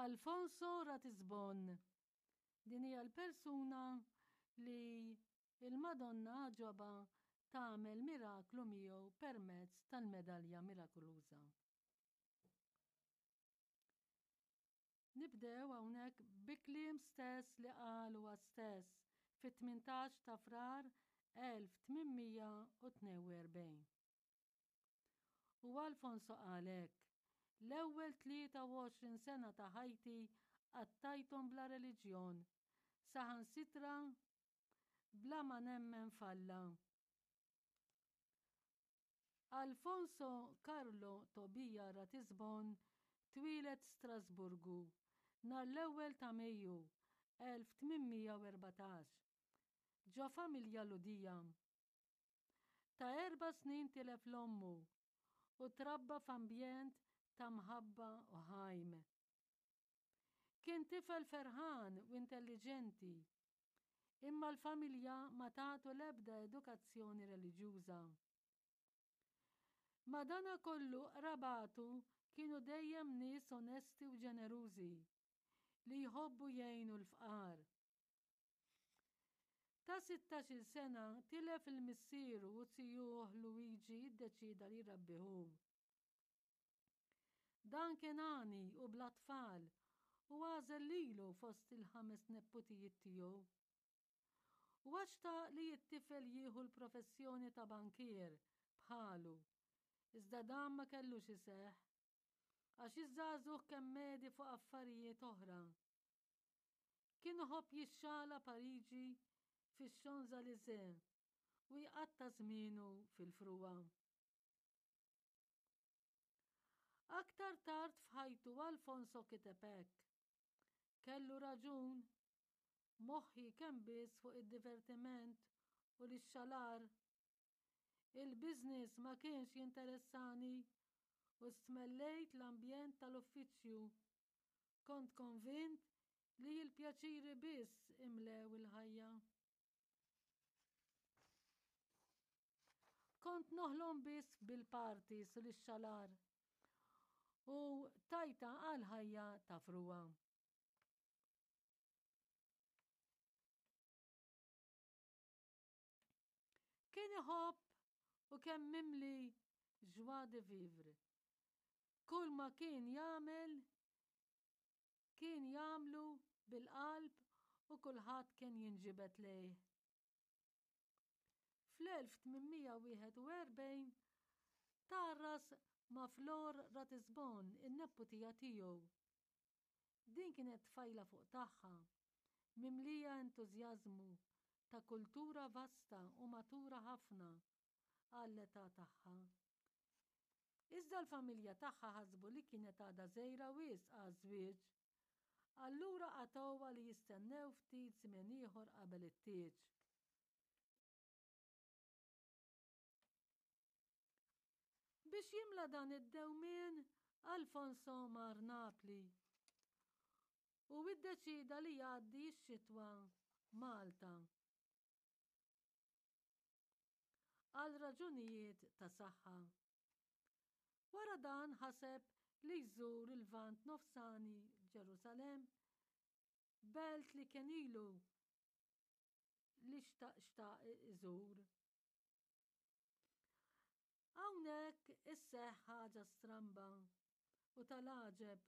Alfonso Ratisbon. Din hija l-persuna li il-Madonna għaġobha tagħmel miraklu miegħu permezz tal-medalja mirakoluża. Nibdew hawnhekk bi kliem stess li qal huwa stess fit-18 ta' Frar 1842. U Alfonso qal hekk, L-ewwel 23 sena ta' ħajti qattajthom bla reliġjon, saħansitra bla ma nemmen f'Alla. Alfonso Carlo Tobia Ratisbon twieled Strasburgu nhar l-ewwel ta' Mejju 1814, ġo familja Lhudija. Ta' erba' snin tilef 'l ommu u trabba f'ambjent ta' mħabba u ħajm. Kien tifel ferħan u intelliġenti, imma l-familja ma tatu l-ebda edukazzjoni reliġjuża. Madanakollu qrabatu kienu dejjem nies onesti u ġenerużi li jħobbu jgħinu l-fqar. Ta' sittax-il sena tilef 'il missieru u zijuh Luigi ddeċieda li jrabbih hu. Dan kien għani u bla tfal u għażel lilu fost il-ħames nepputijiet tiegħu. Huwa xtaq li t-tifel jieħu l-professjoni ta' bankier bħalu, iżda dan ma kellux iseħħ, għax iż-żagħżugħ kemm medi fuq affarijiet oħra. Kien iħobb jixxala Pariġi fix-Champs-Élysées u jqatta' żmienu fil-frugħa. Aktar tard f'ħajtu Alfonso kiteb hekk, Kellu raġun, moħħi kemm biss fuq id-divertiment u l-ixxalar. Il-business ma kienx jinteressani u stmellejt l-ambjent tal-uffiċċju. Kont konvint li l-pjaċiri biss imlew il-ħajja. Kont noħlom biss bil-parties u l-ixxalar u tajta għal ħajja ta' frugħa. Kien iħobb u kemm mimli joie de vivre. Kull ma kien jagħmel kien jagħmlu bil-qalb u kulħadd kien jinġibed lejh. Fl-1841 tgħarras ma' Flor Ratisbon, in-nepputija tiegħu. Din kienet tfajla fuq tagħha, mimlija entużjażmu, ta' kultura vasta u matura ħafna għall-età tagħha. Iżda l-familja tagħha ħasbu li kienet għadha żgħira wisq għaż-żwieġ. Allura qatgħuha li jistennew ftit żmien ieħor qabel it-tieġ. Biex jimla dan id-dewmien, Alfonso mar Napli u iddeċieda li jgħaddi x-xitwa Malta. Għal raġunijiet ta' saħħa. Wara dan ħaseb li jżur il-Lvant Nofsani Ġerusalemm, belt li kien ilu li xtaq xtaq iżur. Hawnhekk isseħħ ħaġa stramba u tal-għaġeb.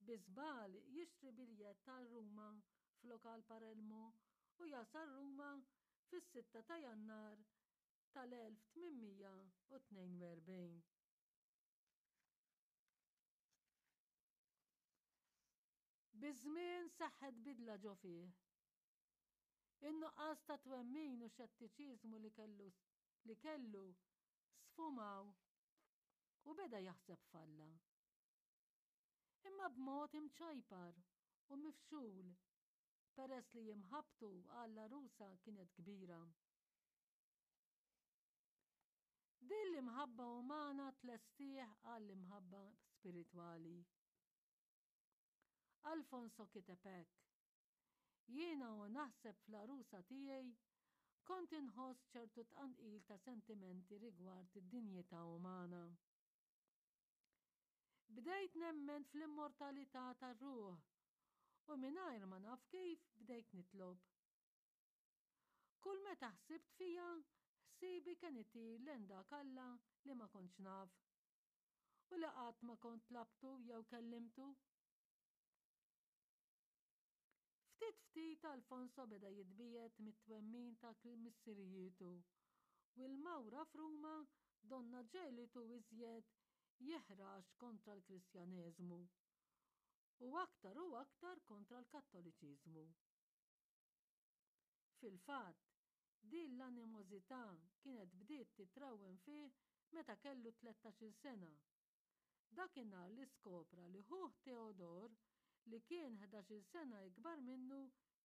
Bi żball jixtri biljett għal Ruma flok għal Parelmo u jasal Ruma fis-sitta ta' Jannar tal-1842. Biż-żmien seħħet bidla ġo fih. In-nuqqas ta' twemmin u xettiċiżmu li kellu li kellu sfumaw u beda jaħseb f'Alla. Imma b'mod imċajpar u mifxul peress li imħabbtu għall-għarusa kienet kbira. Din l-imħabba umana tlestih għall-imħabba spiritwali. Alfonso kiteb hekk, Jiena u naħseb fl-għarusa tiegħi kont inħoss ċertu tqanqil ta' sentimenti rigward id-dinjità umana. Bdejt nemmen fl-immortalità tar-ruħ u mingħajr ma naf kif bdejt nitlob. Kull meta ħsibt fija, ħsiebi kien itir lejn dak Alla li ma kontx naf u li qatt ma kont tlabtu jew kellimtu. Ftit ftit Alfonso beda jitbiegħed mit-twemmin ta' missirijietu u l-mawra f'Ruma donnha ġegħlitu iżjed jiħrax kontra l-Kristjaneżmu u aktar u aktar kontra l-Kattoliċiżmu. Fil-fatt, din l-animożità kienet bdiet titrawwem fih meta kellu tlettax-il sena Dakinhar li skopra li ħuh Theodore, li kien ħdax-il sena ikbar minnu,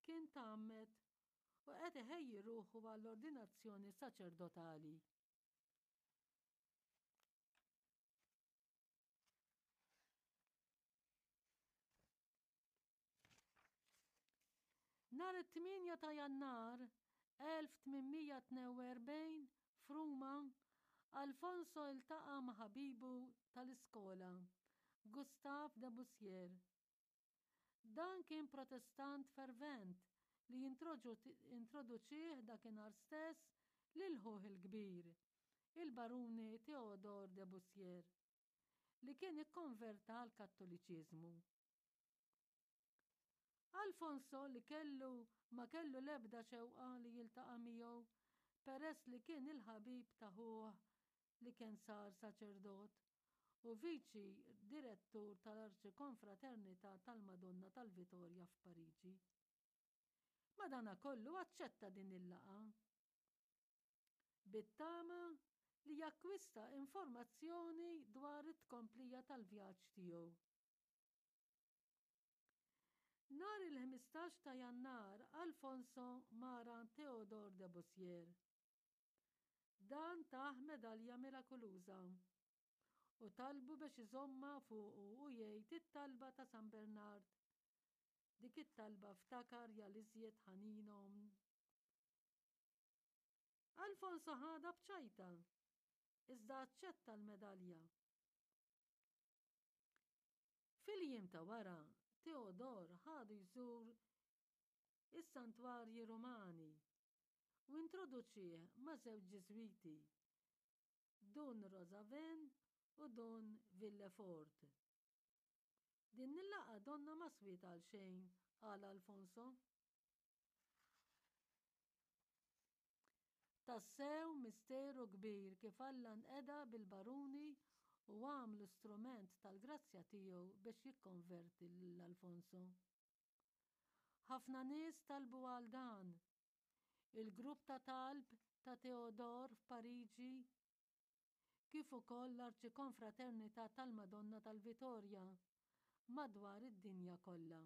kien tgħammed u qed iħejji ruħu għall-ordinazzjoni saċerdotali. Nhar it-8 ta' Jannar 1842 f'Ruma, Alfonso iltaqa' ma' ħabibu tal-iskola, Gustave de Bussière. Dan kien Protestant fervent li introduċieh dakinhar stess lil ħuh il-kbir, il-Baruni Théodore de Bussière, li kien ikkonverta għall-Kattoliċiżmu. Alfonso li kellu ma kellu l-ebda xewqa li jiltaqa' miegħu peress li kien il-ħabib ta' ħuh li kien sar saċerdot u viċi direttur tal-Arċikonfraternità tal-Madonna tal-Vitorja f'Pariġi. Madanakollu aċċetta din il-laqgħa bit-tama li jakkwista informazzjoni dwar it-tkomplija tal-vjaġġ tiegħu. Nhar il-15 ta' Jannar Alfonso mar għand Théodore de Bussière. Dan tah medalja mirakuluża u talbu biex iżommha fuqu u jgħid it-talba ta' San Bernard. Dik it-talba ftakar ja l-iżjed ħanin omm. Alfonso ħadha b'ċajta, iżda aċċetta l-medalja. Fil-jiem ta' wara, Teodor ħadu jżur is-santwarji Rumani u introduċieh ma' żewġ Ġiżwiti, Dun Rosaven u Dun Villefort. Din il-laqgħa donnha ma swiet għal xejn, qal Alfonso. Tassew misteru kbir kif Alla nqeda bil-baruni u għamlu strument tal-grazzja tiegħu biex jikkonverti lil Alfonso. Ħafna nies talbu għal dan. Il-grupp ta' talb ta' Theodore f'Pariġi, kif ukoll l-Arċikonfraternità tal-Madonna tal-Vitorja madwar id-dinja kollha.